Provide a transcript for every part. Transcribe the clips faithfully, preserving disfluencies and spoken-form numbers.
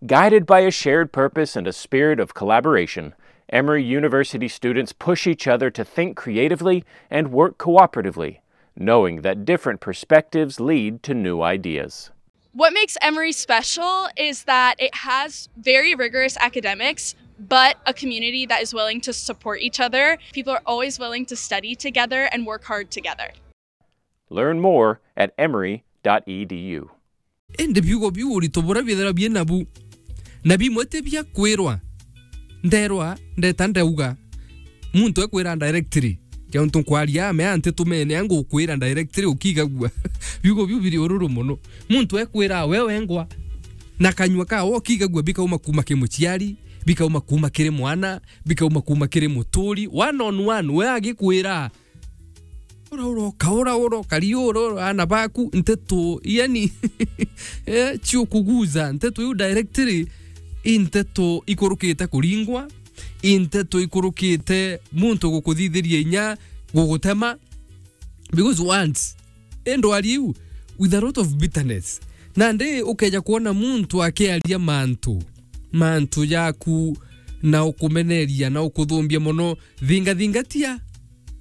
Guided by a shared purpose and a spirit of collaboration, Emory University students push each other to think creatively and work cooperatively, knowing that different perspectives lead to new ideas. What makes Emory special is that it has very rigorous academics, but a community that is willing to support each other. People are always willing to study together and work hard together. Learn more at emory dot e d u. Indi biugo biu urito buria biethirwa bie nabu, na bimwe ti bia kwirwa. Nderwa, ndeta ndauga, muntu ekwira directly. Kiuntu nkwaria ame anti tumene, angukwira directly ukigagua. Biugo biu biri ururu mono. Muntu ekwira we wengwa, na kanyua kawe ukigagua bikauma kuuma ki muciari, bikauma kuuma kiri mwana, bikauma kuuma kiri muturi. One on one, we agikwira, ura uroka, ura uroka, ri ura, ura, ana baku, nteto, yani, eh, ciukuguza, nteto iu directly, i nteto ikurukite kuringwa, i nteto ikurukite muntu gukuthithiria inya gugutema, because once, i ndwari iu, with a lot of bitterness, nandi ukeja kwona muntu akiaria mantu, mantu jaku, na ukumeneria, na ukuthumbia mono, thingathingatia.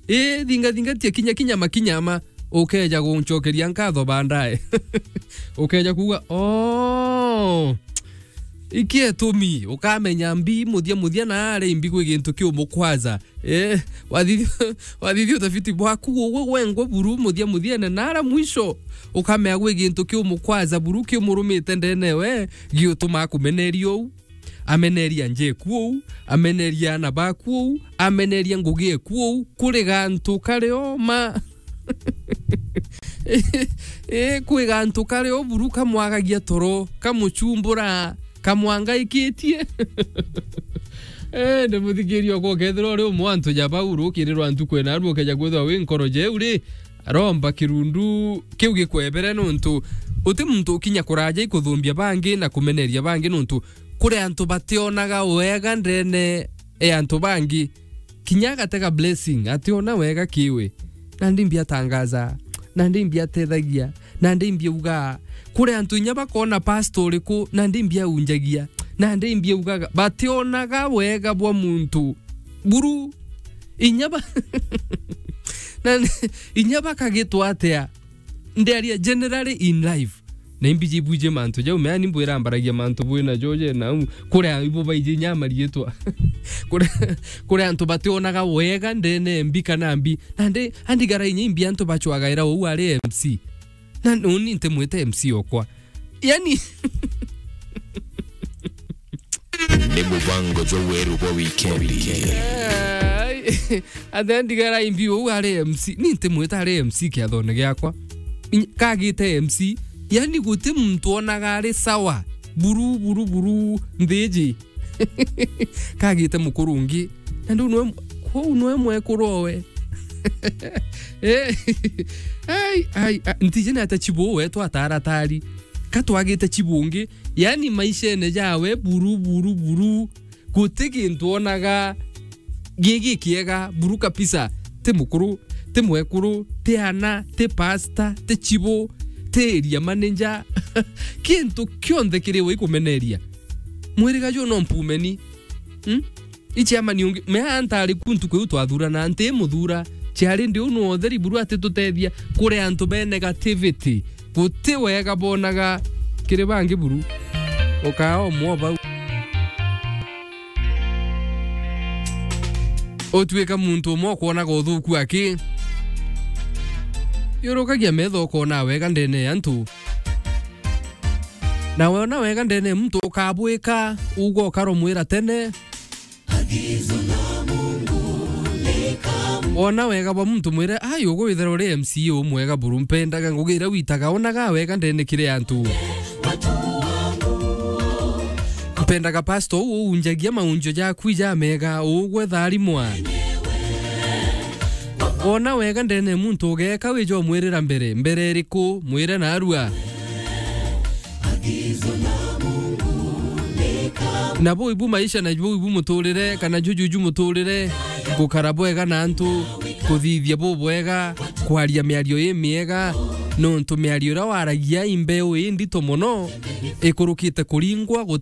Ii, thingathingatia kinya, kinya makinya ma, ukeja guncokeria nkatho baadaye. Ukeja kuuga, "Oh, iki etumi," ukamenya mbi muthia muthia na ari mbi gwi gintu kiumukwaza. Ii, wathithia, wathithia utafiti bwaku, ugwe gwengwa buru muthia muthiene na ara mwisho, ukamenya gwi gintu kiumukwaza buru kiumurumite ndene we, giutuma akumeneria uu. Ameneria njeku uu, ameneria ana baku uu, ameneria ngugi eku uu, kuri gantu kari oma. Ii, kwi gantu kari o buru kamwagagia toro, kamuchumbura, kamwangaikitie. Ii, ndi muthikiria okwa ukethirwa uri umwe wa antu ja bau, rukirirwa ntuku ena aru ukeja kwithirwa wi nkoro jeu ri, aromba kirundu kiu gikwebere, nontu uti muntu ukinya kuraja ikuthumbia bangi na kumeneria bangi, nontu kuri antu bationaga wega ndene e antu bangi. Kinya agatega blessing, ationa wega kiwe. Nandi mbi atangaza, nandi mbi atethagia, nandi mbi auga. Kuri antu inya bakona pastor uriku, nandi mbi aunjagia, nandi mbi augaga. Bationaga wega bwa muntu. Buru, inya ba-, na inya bakagitwa atia? Ndiaria generally in life. Na imbi jibwije mantu jau, mea ni mbwira mbaragia mantu bwina jo je na u-, kuria ibo baiji nyama riitwa. Kuria, kuria antu bationaga wega ndene mbi kana mbi. Nandi, andigara inya imbi antu bachwagaira uu ari M C. Na uni ntimwite M C okwa. Yani, ni mubango jwa weru bwa wikendi. Ai, athe ndigara imbi uu ari M C. Ni ntimwita ari M C kiathone giakwa. Inya-, kagite M C. Yani guti muntu onaga ari sawa. Buru, buru, buru, nthiji. Kagite mukuru ungi. Na ndu nwe, kwou nwe mwekuru owe. Eh, ai, ai, a, ntiji ni ata chibu we twataratari. Ka twagite chibu ungi. Yani maishene jawe buru, buru, buru. Guti gintu onaga gigi kiega, buru kabisa. Ti mukuru, ti mwekuru, ti ana, ti pastor, ti chibu, ti area manager. Kintu kionthe kiri we ikumeneria. Mwiriga ju no mpumeni. Hmm? Ichiamani ungi, mea ntari ku ntuku iu twathurana, nti muthura. Chiari ndi unu otheri buru ati tutethia kuri antu be negativity. Guti wega bonaga kiri bangi buru. Ukaa omwe o bau. Utuika muntu umwe ukwonaga uthuku aki. Yurukagia metho ukona wega ndene ya antu. Na wona wega ndene ya muntu ukabwika, ugwa ukaromwira tene. Wona wega bwa muntu mwire, "Ai, ugu withira uri M C A umwega buru, mpendaga ngugi iria witaga, onaga wega ndene kiri antu." Mpendaga pastor uu uunjagia maunjo jaku ija mega, ugwe tharimwa. Wona wega ndene muntu ugeka wija umwirira mbere, mbere iriku, mwire narua. Na buu ibu maisha, na buu ibu muturire, kana juju ju muturire, gukara bwega na antu, kuthithia bubwega, kwaria miario imiega, nontu miario iria waragia i mbeu indito mono, ikurukite kuringwa, guti